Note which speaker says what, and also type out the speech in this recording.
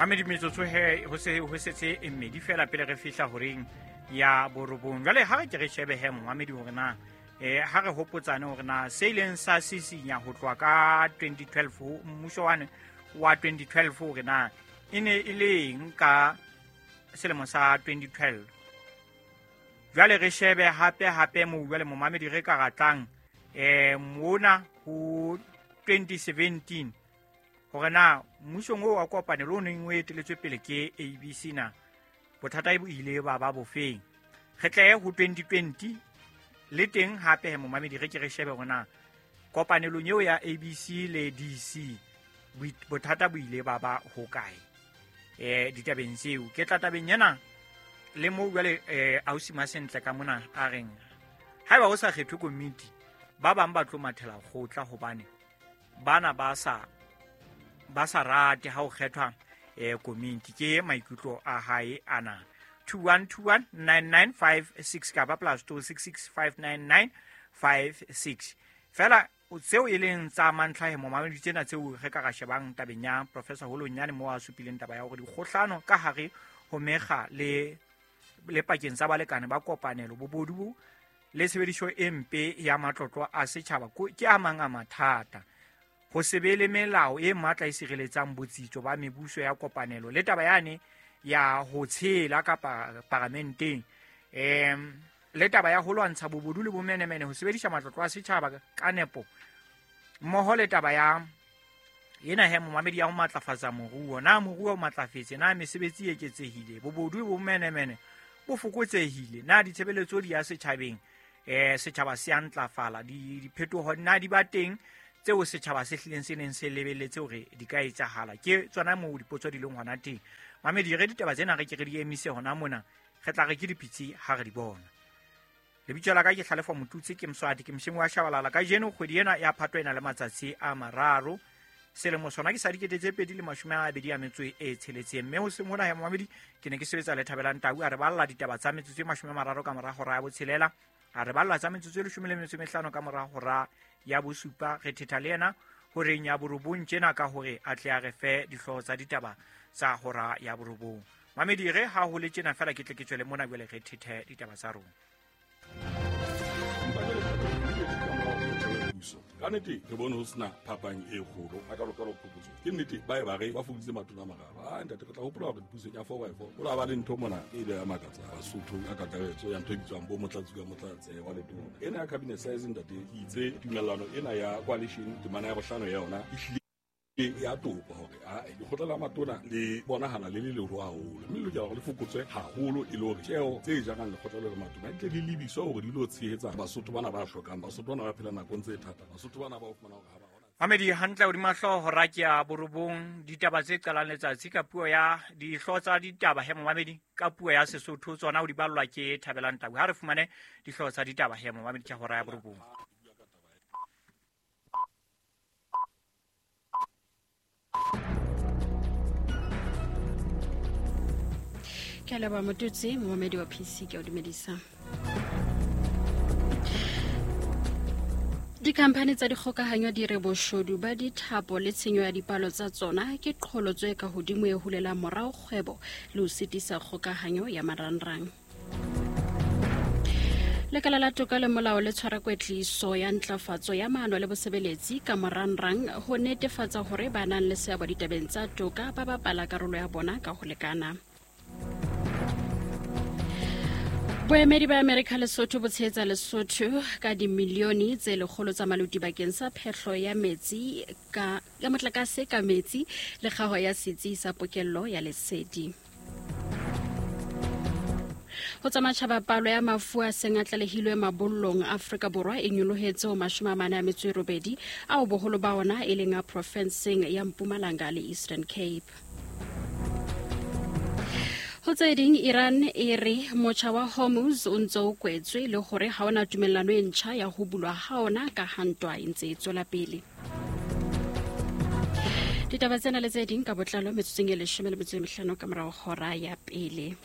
Speaker 1: Mamedi, metsotso he ho se ho setse e mmedi fela pele re fihla horeng ya borobong. Jwale ha re ke re shebe he, momamedi, hore na ha re hopotsane hore na se ileng sa sisinya ho tloha ka 2012 ho mmuso wane wa 2012, hore na e ne e le eng ka selemo sa 2012. Jwale re shebe hape hape moo jwale, momamedi, re ka ratlang mona ho 2017, hore na mmusong oo wa kopanelo o neng o eteletswe pele ke ABC, na bothata bo ile ba ba bofeng. Re tle ho 2020 le teng hape he, momamedi, re ke re shebe hore na kopanelong eo ya ABC le DC bothata bo ile ba ba hokae ditabeng tseo. Ke tla tabeng ena le moo jwale ausi Masentle ka mona a reng haeba ho sa kgethwe komiti, ba bang ba tlo mathela kgotla hobane bana ba sa rate ha ho kgethwa komiti. Ke maikutlo a hae ana. 21219956 kapa +26659956 fela tseo e leng tsa mantlha he, momamedi, tsena tseo re ka ra shebang tabeng ya Professor Holonyane, moo a supileng taba ya hore dikgohlano ka hare ho mekga le pakeng tsa balekane ba kopanelo, bobodu le tshebediso e mpe ya matlotlo a setjhaba ke a mang a mathata, ho se be le melao e matla e sireletsang botsitso ba mebuso ya kopanelo, le taba yane ya ho tshela kapa paramenteng, le taba ya ho lwantsha bobodu le bomenemene, ho sebedisa matlotlo a setjhaba ka nepo, mmoho le taba ya ena he, momamedi, ya ho matlafatsa moruo. Na moruo o matlafetse? Na mesebetsi e eketsehile? Bobodu le bomenemene bo fokotsehile? Na ditshebeletso di ya setjhabeng? Setjhaba se a ntlafala? Diphetoho na di ba teng tseo setjhaba se hlileng se neng se lebelletse hore di ka etsahala? Ke tsona moo dipotso di leng hona teng, mamedi. Re ditaba tsena re ke re di emise hona mona, re tla re ke dipitsi ha re di bona. Lebitso la ka ke Hlalefa Motutsi, ke Moswati, ke moshemi wa Shabalala. Kajeno kgwedi ena ya Phato e na le matsatsi a 3, selemo sona ke sa 2026, mme hoseng hona ya momamedi ke ne ke sebetsa le Thabelang Tau, a re balla ditaba tsa metsotso e 30 ka mora hora ya botshelela, a re balla tsa metsotso e 15 ka mora hora ya bosupa. Re thetha le yena horeng ya borobong tjena ka hore a tle a re fe dihlooho tsa ditaba tsa hora ya borobong. Mamedi, re ha ho le tjena fela, ke tle ke tswele mona jwale re thethe ditaba tsa rona.
Speaker 2: Ka nnete re bone ho sena phapang e kgolo a kalokalo phokotso. Ke nnete ba e ba re ba fokoditse matona a mararo. A ntate, re tla hopola hore pusong ya 4x4 o la ba le ntho mona e ile ya makatsa Basotho ka kakaretso, ya ntho e bitswang bo motlatsi ka motlatse wa letona ena ya cabinet size. Ntate, ke itse tumellano ena ya coalition, temana ya bohlano ya yona e hlile ya topa hore ae lekgotla la matona le bonahala le le leholo haholo, mme le lokela hore le fokotswe haholo e le hore tjeo tse jarang lekgotla le le matona di tle di lebiswe hore di lo tshehetsa Basotho bana ba hlokang, Basotho bana ba phela nakong tse thata, Basotho bana ba o fumana hore ha ba hona.
Speaker 1: Mamedi, hantle hodima hlooho hora ke ya borobong. Ditaba tse qalang letsatsi ka puo ya dihlooho tsa ditaba he, momamedi, ka puo ya Sesotho, tsona ho di ballwa ke Thabelang Tau. Ha re fumane dihlooho tsa ditaba he, momamedi, ke hora ya borobong.
Speaker 3: Ke a leboha, Motutsi. Momamedi wa PC, ke a o dumedisa. Dikhamphani tsa dikgokahanyo di re boshodu ba dithapo le tshenyo ya dipalo tsa tsona ke qholotso e ka hodimo e hulelang morao kgwebo le ho sitisa kgokahanyo ya marangrang. Lekala la toka le molao le tshwara kwetliso ya ntlafatso ya maano le bosebeletsi ka morangrang ho netefatsa hore ba nang le seabo ditabeng tsa toka ba bapala karolo ya bona ka ho lekana. Boemedi ba Amerika Lesotho bo tshehetsa Lesotho ka dimilione tse 100 tsa maluti bakeng sa phehlo ya metsi ka ya motlakase ka metsi le kgaho ya setsi sa pokello ya lesedi. Ho tsa matjhaba, palo ya mafu a seng a tlalehilwe mabollong Afrika Borwa e nyolohetse ho 48, ao boholo ba ona e leng a profenseng ya Mpumalanga le Eastern Cape. Ho tse ding, Iran e re motjha wa Hormuz o ntse o kwetswe le hore ha ona tumellano e ntjha ya ho bulwa ha ona ka ha ntwa e ntse e tswela pele. Ditaba tsena le tse ding ka botlalo metsotsong e 15 ka morao hora ya pele.